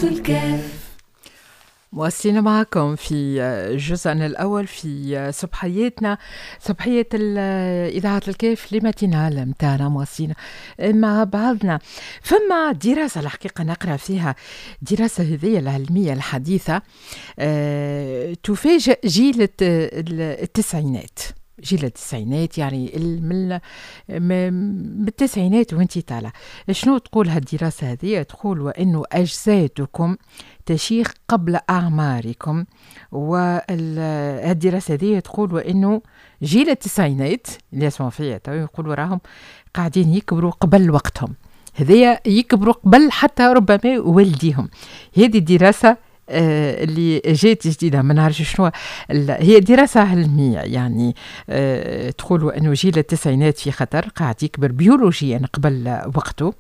الكاف. مواصلين معكم في جزءنا الأول في صبحياتنا، صبحية إذاعة الكاف، les matinales متاعنا، مواصلين مع بعضنا. فما دراسة الحقيقة نقرأ فيها، دراسة هذه العلمية الحديثة تفاجئ جيل التسعينات، جيل التسعينات، يعني من التسعينات وانت طالع. شنو تقول هالدراسة هذه؟ تقول وأنه أجسادكم تشيخ قبل أعماركم. والدراسة هذه تقول وأنه جيل التسعينات اللي يسمعوا فيها تو يقولوا راهم قاعدين يكبروا قبل وقتهم، هذيا يكبروا قبل حتى ربما والديهم. هذه الدراسة اللي جات جديدة، ما نعرفش شنو هي، دراسة علمية يعني تقول أنه جيل التسعينات في خطر، قاعد يكبر بيولوجيا قبل وقته.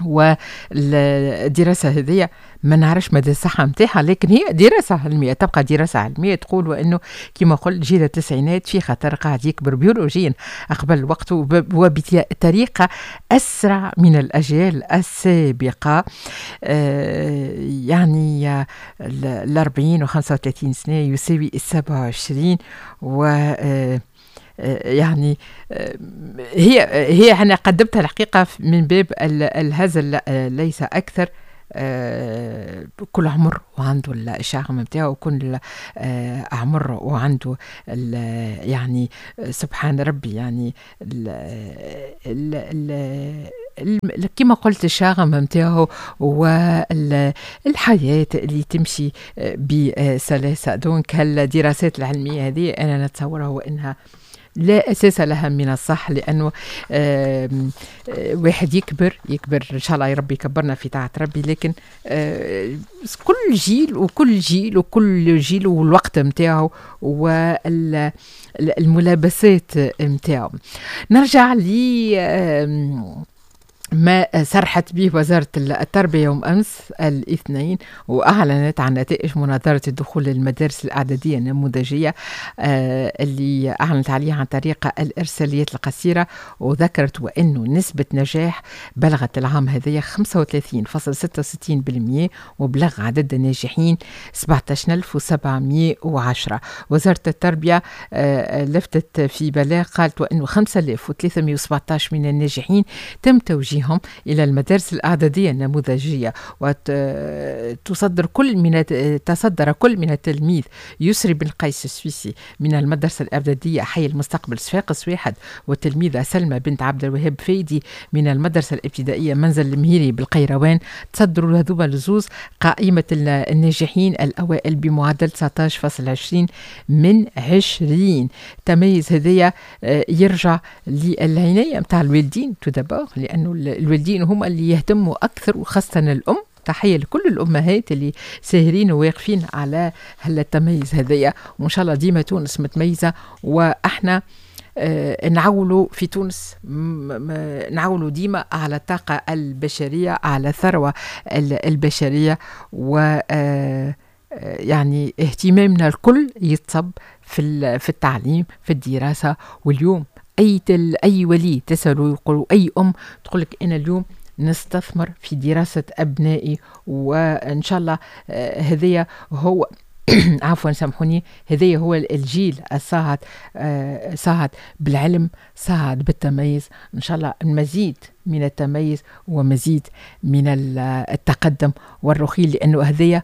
والدراسة هذه ما نعرفش مدى الصحة متاعها، لكن هي دراسة علمية، تبقى دراسة علمية، تقول وأنه كما قلت جيل التسعينات في خطر، قاعد يكبر بيولوجيا قبل وقته وبطريقة أسرع من الأجيال السابقة. يعني 40 و35 سنة يساوي 27. و يعني هي أنا قدمتها الحقيقة من باب الهزل ليس أكثر. كل عمر وعنده ال charme نتاعو، وكل عمر وعنده يعني سبحان ربي، يعني ال ال ال كما قلت ال charme نتاعو والحياة اللي تمشي بسلاسة. donc هالدراسات العلمية هذه أنا نتصورها وإنها لا أساس لها من الصح، لأنه واحد يكبر يكبر، إن شاء الله يا ربي يكبرنا في طاعة ربي، لكن كل جيل وكل جيل وكل جيل والوقت متاعه والملابسات متاعه. نرجع لي ما صرحت به وزارة التربية يوم أمس الاثنين، وأعلنت عن نتائج مناظرة الدخول للمدارس الإعدادية النموذجية اللي أعلنت عليها عن طريق الإرساليات القصيرة، وذكرت وأنه نسبة نجاح بلغت العام هذايا 35.66%، وبلغ عدد الناجحين 17710. وزارة التربية لفتت في بلاغ، قالت وأنه 5317 من الناجحين تم توجيههم إلى المدارس الإعدادية النموذجية، وتصدر كل من تصدر كل من التلميذ يسري بن قيس السويسي من المدرسة الإعدادية حي المستقبل صفاقس 1، والتلميذة سلمى بنت عبد الوهاب فايدي من المدرسة الابتدائية منزل المهيري بالقيروان. تصدروا هذوما الزوز قائمة الناجحين الأوائل بمعدل 19.20 من 20. تميز هذايا يرجع للعناية متاع الوالدين tout d'abord، لأنه الوالدين هم اللي يهتموا أكثر، وخاصة الأم. تحية لكل الأمهات اللي ساهرين وواقفين على هالتميز هذايا، وإن شاء الله ديما تونس متميزة، وإحنا نعولوا في تونس، نعولوا ديما على الطاقة البشرية، على الثروة البشرية، و يعني اهتمامنا الكل يتصب في التعليم، في الدراسة. واليوم أي ولي تسأله يقول، أي أم تقول لك أنا اليوم نستثمر في دراسة أبنائي، وإن شاء الله هذايا هو عفوا سامحوني، هذايا هو الجيل الصاعد، صاعد بالعلم، صاعد بالتميز. إن شاء الله المزيد من التميز ومزيد من التقدم والرقي، لأنه هذايا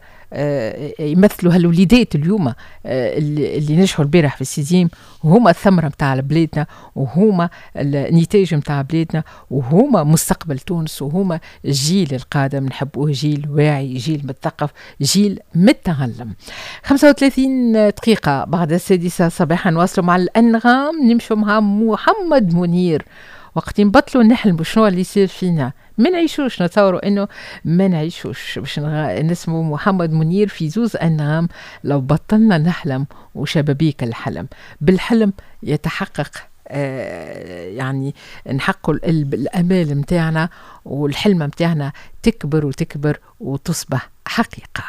يمثلوا هالوليدات اليوم اللي نجحوا البارح في ال sixième، وهما الثمرة متاع بلادنا، وهما النتاج متاع بلادنا، وهما مستقبل تونس، وهما الجيل القادم. نحبوه جيل واعي، جيل مثقف، جيل متعلم. 35 دقيقة بعد 6 صباحا نواصلوا مع الأنغام، نمشوا مع محمد منير. وقت نبطلوا نحلموا شنو اللي يصير فينا؟ ما نعيشوش، نتصوروا انه ما نعيشوش. باش نسمو محمد منير في زوز انغام، لو بطلنا نحلم وشبابيك الحلم، بالحلم يتحقق، يعني نحققوا الامال متاعنا، والحلم متاعنا تكبر وتكبر وتصبح حقيقة.